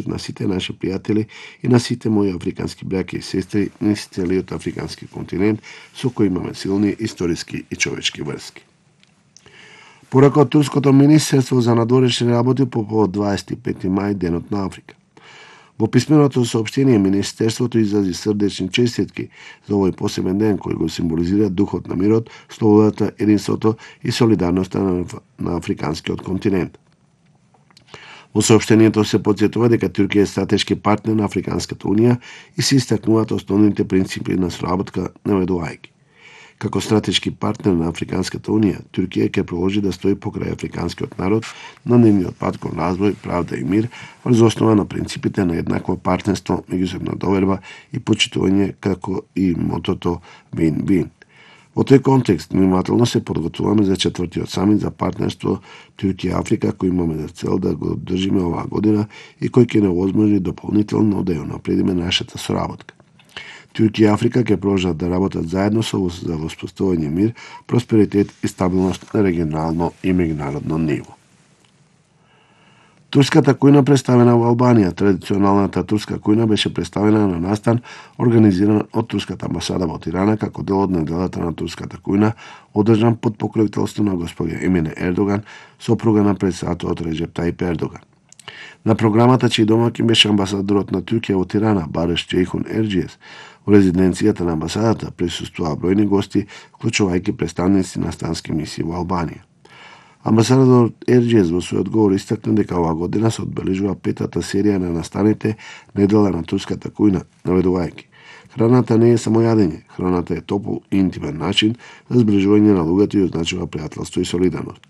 на сите наши пријатели и на сите мои африкански браќа и сестри низ целиот африкански континент со кои имаме силни историски и човечки врски. Порака од турското министерство за надворешни работи по повод 25 мај, денот на Африка. Во писменото соопштение министерството изрази срдечни честитки за овој посебен ден кој го символизира духот на мирот, слободата, единството и солидарноста на африканскиот континент. Во соопштението се потсетува дека Туркија е стратешки партнер на Африканската унија и се истакнуваат основните принципи на соработка наведувајќи. Како стратешки партнер на Африканската унија, Туркија ќе продолжи да стои покрај африканскиот народ на нивниот пат кон развој, правда и мир, врз основа на принципите на еднакво партнерство, меѓусебна доверба и почитување, како и мотото win-win. Во тој контекст, внимателно се подготвуваме за четвртиот самит за партнерство Туркија-Африка, кој имаме за цел да го одржиме оваа година и кој ќе не овозможи дополнително да ја напредиме нашата соработка. Туркија и Африка ќе продолжат да работат заедно за воспоставување мир, просперитет и стабилност на регионално и меѓународно ниво. Турската кујна представена во Албанија. Традиционалната турска кујна беше представена на настан организиран од турската амбасада во Тирана како дел од неделата на турската кујна, одржан под покровителство на господја Емине Ердоган, сопруга на претседателот Реджеп Тајип Ердоган. На програмата чиј домаќин беше амбасадорот на Туркија во Тирана, Бареш Џейхун Ерџиес. Во резиденцијата на амбасадата присуствуваа бројни гости, вклучувајќи представници на странски мисии во Албанија. Амбасадорот Ерџиес во својот говор истакна дека оваа година се одбележува петата серија на настаните недела на турската кујна, наведувајќи: храната не е само јадење, храната е топол и интимен начин за зближување на луѓето и означува пријателство и солидарност.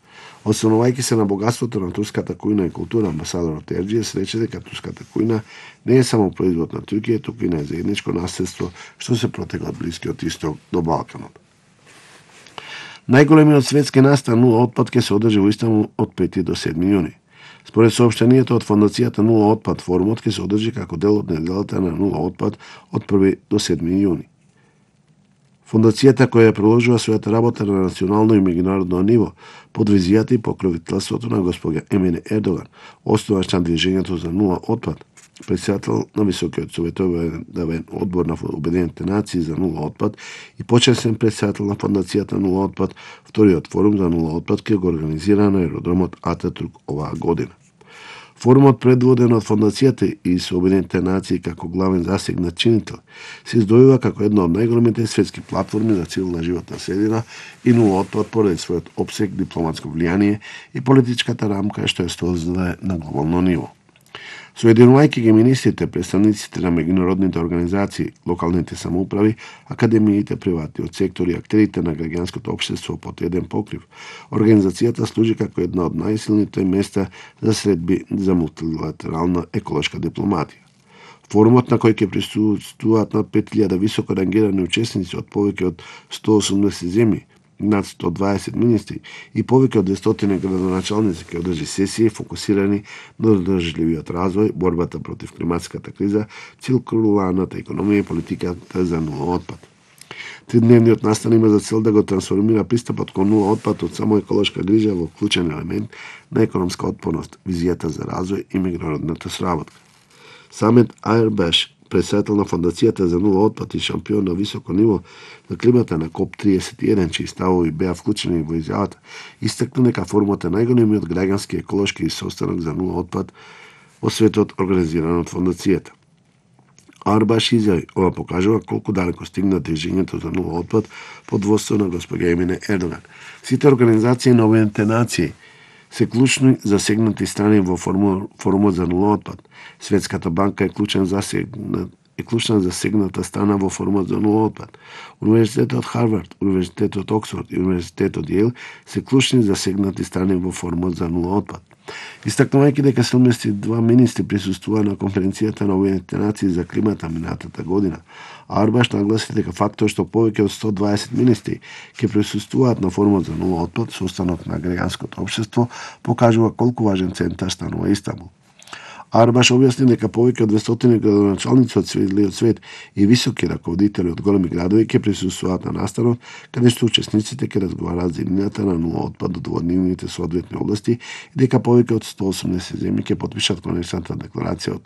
Останувајќи се на богатството на турската кујна и култура, амбасадорот Ерџиес рече дека турската кујна не е само производ на Туркија, туку и на заедничко наследство што се протега од Блискиот Исток до Балканот. Најголемиот светски настан нула отпад ќе се одржи во Истанбул од 5 до 7 јуни. Според соопштението од фондацијата Нула отпад, форумот ќе се одржи како дел од неделата на нула отпад од 1 до 7 јуни. Фондацијата, која продолжува својата работа на национално и меѓународно ниво, под визијата и покровителството на господја Емине Ердоган, основач на движењето за нула отпад, председател на Високиот советовен одбор на Обединетите нации за нула отпад и почесен председател на фондацијата Нула отпад, вториот форум за нула отпад ќе го организира на аеродромот Ататурк оваа година. Форумот, предводен од фондацијата и со Обединетите нации како главен засегнат чинител, се издвојува како една од најголемите светски платформи за цивилна животна средина и нула отпад поради својот опсег, дипломатско влијание и политичката рамка што ја создава на глобално ниво. Соединувајќи ги министрите, представниците на меѓународните организации, локалните самоуправи, академиите, приватниот сектор и актерите на граѓанското општество под еден покрив, организацијата служи како една од најсилните места за средби за мултилатерална еколошка дипломатија. Форумот, на кој ќе присуствуваат над 5000 високо рангирани учесници од повеќе од 180 земји, над 120 министри и повеќе од 200 градоначалници ќе одржи сесии фокусирани на одржливиот развој, борбата против климатската криза, циркуларната економија и политиката за нула отпад. Тридневниот настан има за цел да го трансформира пристапот кон нула отпад од само еколошка грижа во вклучен елемент на економска отпорност, визијата за развој и меѓународната соработка. Самет Айрбаш, председател на фондацијата за нула отпад и шампион на високо ниво на климата на КОП-31, чии ставови беа вклучени во изјавата, истакна дека форумот е најголемиот граѓански еколошки состанок за нула отпад во светот организиран од фондацијата. Арбаш изјави: ова покажува колку далеко стигна движењето за нула отпад под водство на господја Емине Ердоган. Сите организации на Обединетите нации се клучни засегнати страни во форумот за нула отпад. Светската банка е клучна засегната страна во форумот за нула отпад. Универзитетот Харвард, Универзитетот Оксфорд и Универзитетот Јейл се клучни засегнати страни во форумот за нула отпад. Истакнувајќи дека 72 министри присуствуваа на конференцијата на Обединетите нации за климата минатата година, Арбаш нагласи дека фактот што повеќе од 120 министри ќе присуствуваат на форумот за нула отпад, состанок на граѓанското општество, покажува колку важен центар станува Истанбул. Арбаш објасни дека повеќе од 200 градоначалници од целиот свет и високи раководители од големи градови ќе присуствуваат на настанот, каде што учесниците ќе разговараат за иднината на нула отпад од нивните соодветни области и дека повеќе од 180 земји ќе потпишат конечната декларација од